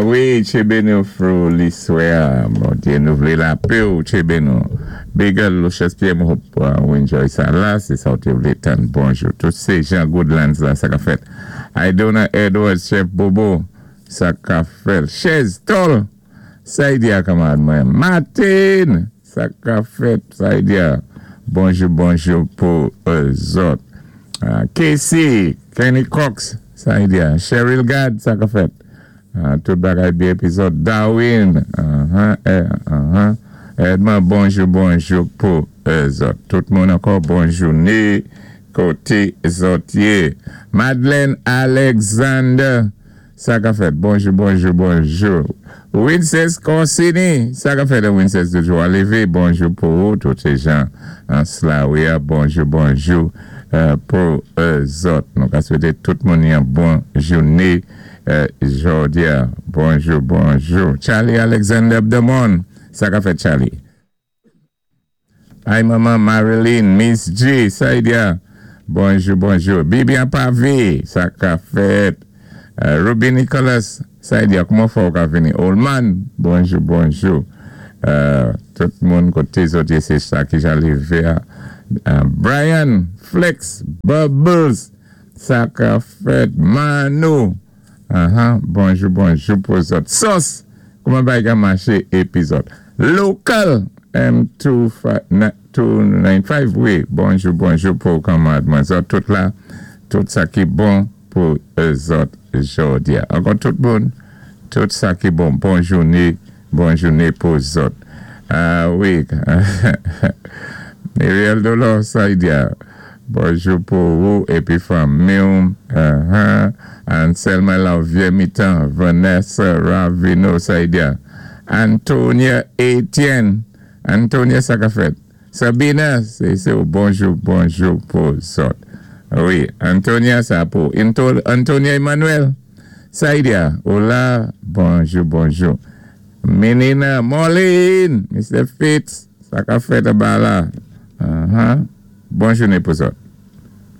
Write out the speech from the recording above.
Wi, tchébé nou through liswè. Bondyé nou vlé lapé ou, tchébé nou. Big Lucius Pierre, m hope ou enjoy sa la. Sé sa ou té vlé tann. Bonjou. Tout sé Jean Goodlands la, sa ka fèt. Idona Edwards, Chef Bobo, sa ka fèt. Chez Tol, Saidia kanmarad mwen. Martin, sa ka fèt, Saidia. Bonjou, bonjou pou zòt. Casey, Kenny Cox, Saidia. Cheryl Gad, sa ka fèt. Tout bagay byen épi zòt. Darwin, Edmond, bonjou, bonjou pou zòt. Tout moun ankò, bon jouné koté zòt yé. Madeleine Alexander, sa ka fèt. Bonjou, bonjou, bonjou. Winces Corsini, sa ka fèt, Winces toujou a lévé. Bonjou pou ou, tout sé jan Slaouia. Bonjou, bonjou pou zòt. Nou ka swété tout moun yon bon jouné jòdi-a. Bonjou, bonjou. Charlie Alexander Abdamon, sa ka fèt, Charlie? Ay manman Marilyn, Miss G, Saidia, bonjou, bonjou. Bibian Pavé, sa ka fèt. Ruby Nicholas, Saidia, kouman fè ou ka vini? Olman, bonjou, bonjou. Tout moun koté zòt yé sé sa ki jan lévé a. Brian, Flex, Bubbles, sa ka fèt. Mano, bonjou, bonjou pou zòt. Sos, kouman bagay ka maché épi zòt? Local M295, wi, bonjou, bonjou pou kanmarad mwen. Zòt tout la, tout sa ki bon pou zòt jòdi-a. Ankò tout moun, tout sa ki bon. Bon jouné, bon jouné pou zòt. Wi, Muriel Dolor Saidia, bonjou pou ou épi fanmi-w. Anselma Lavier Mitan, Vanessa Ravino Saidia, Antonia Etienne, Antonia sa ka fèt. Sabina, sé ou bonjou, bonjou pou zòt. Wi, Antonia sa pou. Antonia Emmanuel, Saidia, ou la, bonjou, bonjou. Menina Marlene, Mr. Fitz, sa ka fèt anba la. Bon jouné pou zòt.